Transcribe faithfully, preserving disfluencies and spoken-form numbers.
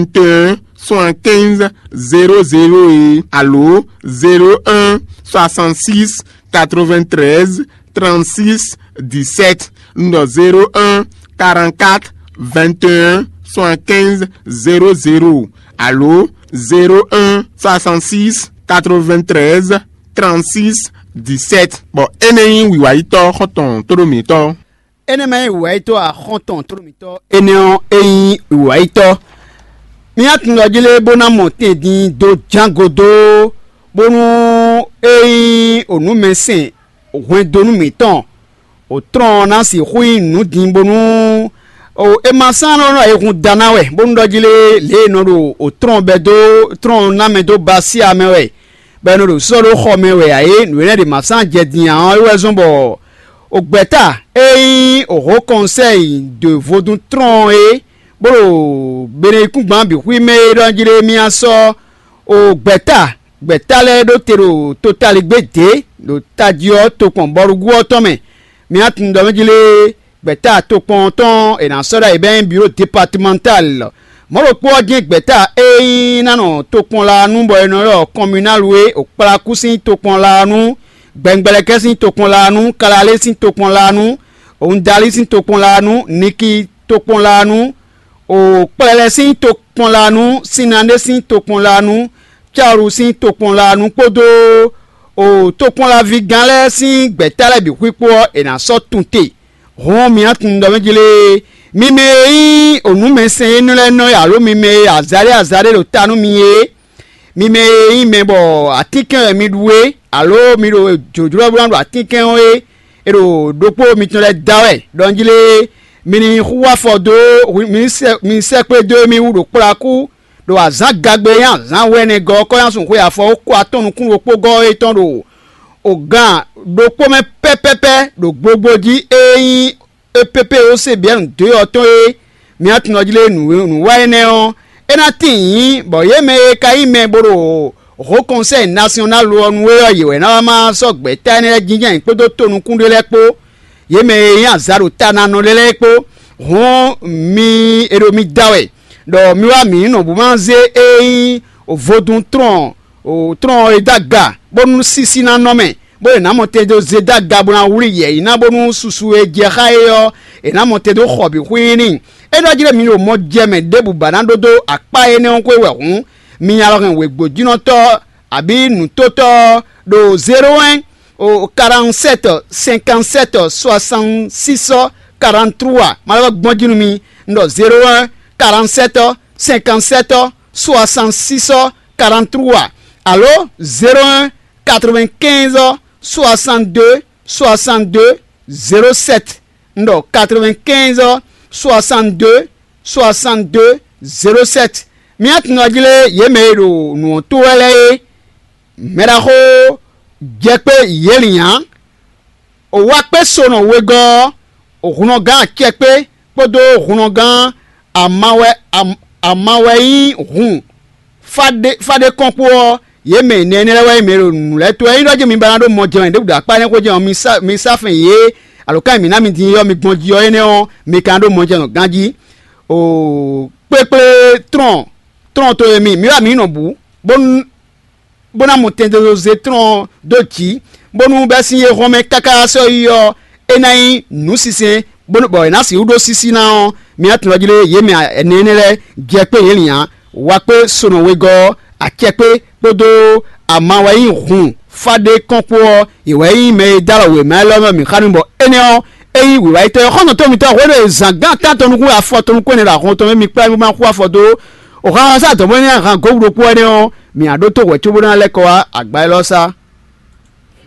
vingt et un soixante-quinze zéro zéro é alo zéro un soixante-six quatre-vingt-treize trente-six dix-sept, un zéro un quarante-quatre vingt et un soixante-quinze zéro zéro alo zéro un soixante-six quatre-vingt-treize trente-six dix-sept. Bɔ énɛ́ nyí wǐwáyítɔ́ xɔ́ntɔn tóɖó mǐtɔn. Énɛ́ ma nyí wǐwáyítɔ́ axɔ́ntɔn tlólomítɔ́ énɛ́ ɔ́, é nyí wǐwáyítɔ́. Mì nǎ tunwun ɖɔ jí lé bó ná mɔ tɛn din dó jángo dó, bónú é nyí onǔmɛsɛn hwɛndo nú mǐtɔn, o tlɔ́n ɔ́ ná sixú nyí nǔ din bónú o è ma sán nɔ nɔ e hun da ná wɛ, bónú ɖɔ jí lé lě e è nɔ ɖo o tlɔ́n bɛ́ dó tlɔ́n ná mɛ dó ba sí amɛ wɛ, bɔ è nɔ ɖo sɔ́ ɖó xɔ mɛ wɛ ǎ é, nǔ énɛ́ ɖě ma sán jɛ din ǎ ɔ́ é wɛ zɔ́n bɔ o gbɛ̌ta e nyí o Haut Conseil de Vodun Tron é, bó ɖo beneyíkúngban bǐ xwí mɛ é ɖɔ jí lé mì nǎ sɔ́ o gbɛ̌ta gbɛ̌ta lɛ́ɛ ɖó te ɖo totaligbé dě ɖo tají ɔ́ tokpɔn bɔɖugbú ɔ́ tɔn mɛ. Mì nǎ tunwun ɖɔ mɛ jí lé gbɛ̌ta tokpɔn ɔ́ tɔn è nǎ sɔ́ ɖ'ayǐ bɔ é nyí biro departemental. Mɔ̌ ɖokpó ɔ́ jɛ́n gbɛ̌ta e nyí ná nɔ tokpɔn laa nú bɔ è nɔ ylɔ́ communal é, o kplakú sín tokpɔn laa nú, gbɛngbɛlɛkɛ́ sín tokpɔn laa nú, kalalé sín tokpɔn laa nú, ondalí sín tokpɔn laa nú, niki tokpɔn laa nú, o kplɛlɛ sín tokpɔn laa nú, sinnaɖé sín tokpɔn laa nú, cáwlu sín tokpɔn laa nú kpódó o tokpɔnlaví gán lɛ́ɛ sín gbɛ̌ta lɛ́ɛ bǐ xwíkpó ɔ́, è nǎ sɔ́ tunte. Hɔn mì nǎ tunwun ɖɔ mɛ jí lé, mi mɛ e nyí onǔmɛsɛn énɛ́ lɛ́ɛ nɔ é, alo mi mɛ e azǎɖé azǎɖé ɖo ta nú mi é, mi mɛ e nyí mɛ bɔ atínkɛn wɛ mi ɖu é, alo mi ɖo jlǒjlɔ́ bó ná ɖo atínkɛn ɔ́ é, è ɖo ɖokpó mitɔn lɛ́ɛ da wɛ ɖɔ njí lé, mi ní xú afɔ dó mi sɛ́ mi sɛ́ kpé dó émí wú ɖo kplakú, ɖo azǎn gagbe e nyí azǎn hwɛnɛgɔ́ ɔ́ kɔ́ nyi asúnxwe afɔ ó kó atɔ́n nukún ɖokpó gɔ́ é tɔn ɖo ogan ɖokpó mɛ pɛ́pɛ́pɛ́ ɖo gbogbo jí e nyí E P P O C B N dó ɔ́ tɔn e mi nǎ tunwun ɔ́ jí lé nǔ nǔ wa énɛ́ ɔ́, é ná tíin nyǐ, bɔ yě mɛ e ka nyí mɛ bó ɖo Haut Conseil National ɔ́ nu é ɔ́, yě wɛ ná wá má sɔ́ gbɛ̌ta énɛ́ lɛ́ɛ jínjɔ́n ayǐ kpódó tonukúnɖé lɛ́ɛ kpó, yě mɛ e nyí azǎ ɖo ta ná nɔ lɛ́ɛ lɛ́ɛ kpó. Hǔn mi è ɖo mi da wɛ ɖɔ mi wá mǐ nɔ bó má zé e nyí vodún tlɔn tlɔn e dó aga bónú sísí ná nɔ mɛ, bó e nǎ mɔ tɛn dó zé dó aga bó ná wlí yɛ̌yi ná bónú susu e jɛ xá é ɔ́, è nǎ mɔ tɛn dó xɔ bǐ xwíí n'i. É ɖɔ jí ɖɔ mi ɖo mɔ jɛ mɛ ɖěbǔ ba ná ɖó dó akpá énɛ́ ɔ́ xwé wɛ hǔn, mi nya lɔ hɛn wěgbójínɔtɔ́ abǐ nǔtótɔ́ ɔ́ ɖo zéro un o quarante-sept cinquante-sept soixante-six quarante-trois. Malɔ́ gbɔn jí nú mi, un ɖɔ zéro un quarante-sept cinquante-sept soixante-six quarante-trois alo zéro un quatre-vingt-quinze soixante-deux soixante-deux zéro sept. Un ɖɔ quatre-vingt-quinze soixante-deux soixante-deux zéro sept. Mi nǎ tunwun jí lé yě mɛ e ɖo nǔ ɔ́ tó wɛ lɛ́ɛ é. Mɛɖaxó jɛ kpé yě lin ǎ. O wá kpé so nɔ wegɔ́ ɔ́, o hunnɔgán acɛ kpé kpódó hunnɔgán amawɛ amawɛ nyí hun fáɖé kɔn kpó ɔ́, yě mɛ nɛnɛ lɛ́ɛ wɛ nyí mɛ e ɖo nǔ lɛ́ɛ tó wɛ nyí ɖɔ jí mi ba ná ɖó mɔ jɛ́n wɛ ɖěbǔ ɖo akpá énɛ́ xwé jɛ́n ɔ́, mi sá mi sá fɛn yě, alǒkan e mǐ ná mi din é ɔ́, mi gbɔn jí ɔ́ énɛ́ ɔ́, mi ka ná ɖó mɔ jɛ́n ganjí. O kplékplé tlɔn tlɔn to e mi mi wá mi nɔ bǔ, bónú bó ná mɔ tɛndozo zé tlɔn ɔ́ dó jǐ, bónú bɛ́ sín é hɔn mɛ káká sɔ́ yi ɔ́, é ná nyí nǔ sinsɛn, bɔ è nǎ sixú ɖó sísí ná ɔ́, mi ná tunwun jí lé yě mɛ ɛnɛ énɛ́ lɛ́ɛ jɛ kpé yě lin ǎ. Wa kpé sonɔ wegɔ́ ɔ́, acɛ kpé kpódó ama wɛ nyí hun fáɖé kɔn kpó ɔ́, yě wɛ nyí mɛ e dó alɔ wěma élɔ́ mɛ mǐ xá nú bɔ énɛ́ ɔ́, é nyí wǐwáyítɔ́ e xɔ́ntɔn tɔn mǐtɔn hwenu e zǎn gán tántɔn nukún afɔ tɔn nukún ɛnɛ ɖo ahɔn tɔn mɛ mi kplá mì ma xú afɔ dó. O xaxa sá dɔ̌n bɔ é ná hán gǒ ɖokpó wɛ nɛ́ ɔ́, mǐ ná ɖótó hwɛ̌ cóbó ná lɛ́ kɔ wá agbá élɔ́ sá.